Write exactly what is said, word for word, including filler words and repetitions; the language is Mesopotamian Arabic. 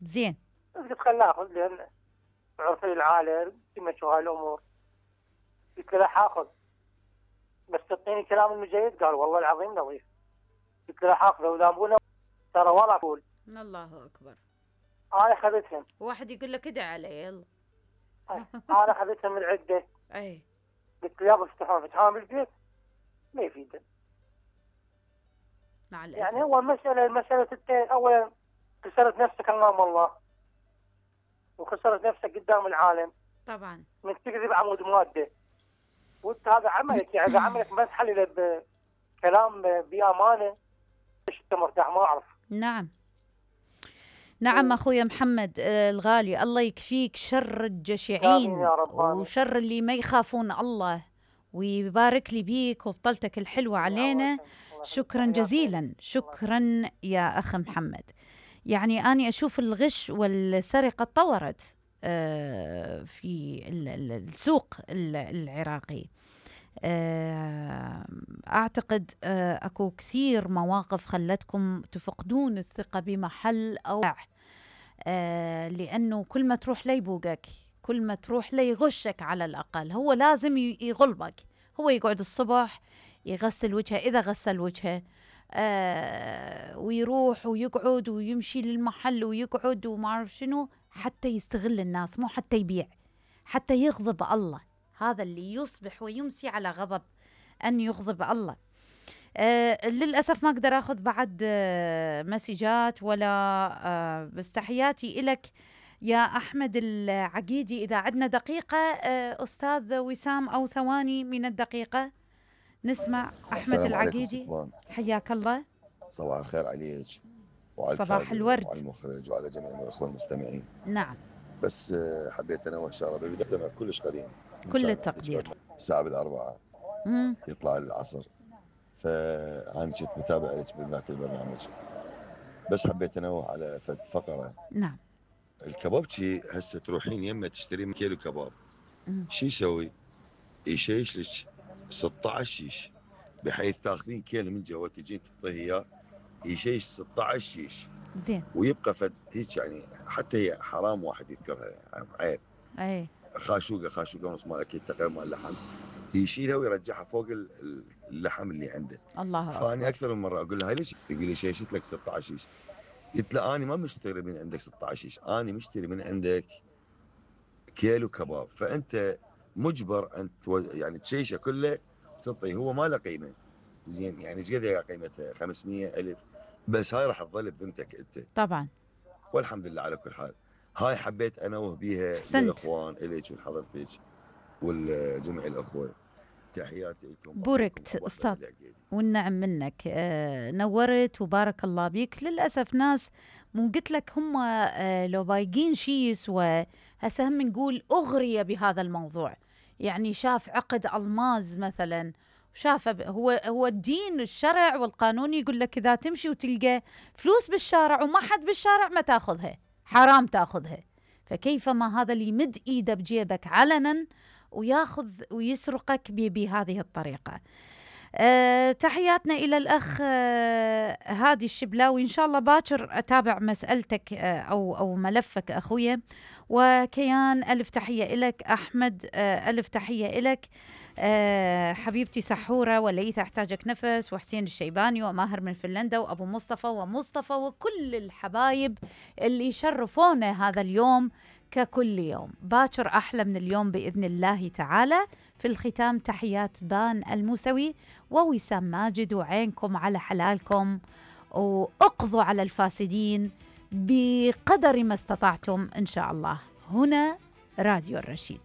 زين. قلت خلنا اخذ لان عرفي العائله تمشوا هاي الامور. قلت له راح اخذ بس تعطيني كلام انه جيد. قال والله العظيم نظيف. قلت له راح اخذه ولا ابونا ترى ولا اقول. الله اكبر. انا اخذتهم. واحد يقول لك ادع علي يلا. انا اخذتهم من عده. اي. قلت له يلا افتحون فتحون بالبيت ما يفيد. مع الاسف. يعني هو المساله مساله التين اولا خسرت نفسك امام الله وخسرت نفسك قدام العالم. طبعا. من تكذب عمود ماده. وانت هذا عملك يعني اذا عملك ما تحلله بكلام بامانه ايش انت مرتاح ما اعرف. نعم. نعم اخويا محمد الغالي، الله يكفيك شر الجشعين وشر اللي ما يخافون الله، ويبارك لي بيك وبطلتك الحلوه علينا. شكرا جزيلا. شكرا يا اخ محمد. يعني اني اشوف الغش والسرقه تطورت في السوق العراقي. أعتقد أكو كثير مواقف خلتكم تفقدون الثقة بمحل أو لأنه كل ما تروح ليبوقك، كل ما تروح ليغشك على الأقل. هو لازم يغلبك. هو يقعد الصبح يغسل وجهه إذا غسل وجهه، ويروح ويقعد ويمشي للمحل ويقعد وما أعرف شنو حتى يستغل الناس، مو حتى يبيع، حتى يغضب الله. هذا اللي يصبح ويمسي على غضب أن يغضب الله. آه للأسف ما أقدر أخذ بعد آه مسجات ولا آه بس تحياتي إلك يا أحمد العقيدي. إذا عدنا دقيقة آه أستاذ وسام أو ثواني من الدقيقة نسمع أحمد العقيدي. حياك الله. صباح الخير عليك وعلى صباح الورد وعلى المخرج وعلى جميع الأخوة المستمعين. نعم. بس حبيت أنا وشارة اللي استمع كلش قديم كل التقدير. الساعة بالأربعة مم. يطلع العصر، فأنا كنت متابع لك بذاك البرنامج، بس حبيت أنوه على فد فقرة. نعم. الكبابتشي هسه تروحين يمه تشترين كيلو كباب، شو يسوي؟ يشيش لك ستة عشر شيش، بحيث تاخذين كيلو من جوا تجين تعطيه اياه يشيش ستة عشر شيش. زين. ويبقى فد هيك يعني حتى هي حرام واحد يذكرها، عيب. اي. خاشوقه خاشوقه ونص مال اكيد تقريبا مال اللحم، يشيلها ويرجعها فوق اللحم اللي عنده. الله اكبر. فاني اكثر من مره اقول له هاي ليش؟ يقول لي شيشت لك ستة عشر شيش. قلت له اني ما مشتري من عندك ستة عشر شيش، اني مشتري من عندك كيلو كباب، فانت مجبر ان يعني تشيشه كله وتعطيه. هو ما له قيمه زين، يعني ايش قد قيمتها؟ خمسمية ألف، بس هاي راح تظل بذمتك انت طبعا. والحمد لله على كل حال. هاي حبيت انوه بيها للاخوان الك ولحضرتك والجميع الاخوه. تحياتي لكم. بوركت استاذ والنعم منك. آه نورت وبارك الله بيك. للاسف ناس مو قلت لك هم آه لو بايقين شيء يسوى هسه هم نقول اغري بهذا الموضوع. يعني شاف عقد الماز مثلا، شاف هو هو الدين الشرع والقانون يقول لك اذا تمشي وتلقى فلوس بالشارع وما حد بالشارع ما تاخذها، حرام تاخذها. فكيف ما هذا اللي يمد ايده بجيبك علنا وياخذ ويسرقك بهذه الطريقة. أه تحياتنا إلى الأخ أه هادي الشبلاوي. إن شاء الله باكر أتابع مسألتك أه أو أو ملفك أخويا. وكيان ألف تحية إلك. أحمد أه ألف تحية إلك. أه حبيبتي سحورة وليث أحتاجك نفس، وحسين الشيباني وماهر من فنلندا وأبو مصطفى ومصطفى وكل الحبايب اللي شرفونا هذا اليوم ككل يوم. باكر أحلى من اليوم بإذن الله تعالى. في الختام تحيات بان الموسوي ووسام ماجد، وعينكم على حلالكم وأقضوا على الفاسدين بقدر ما استطعتم إن شاء الله. هنا راديو الرشيد.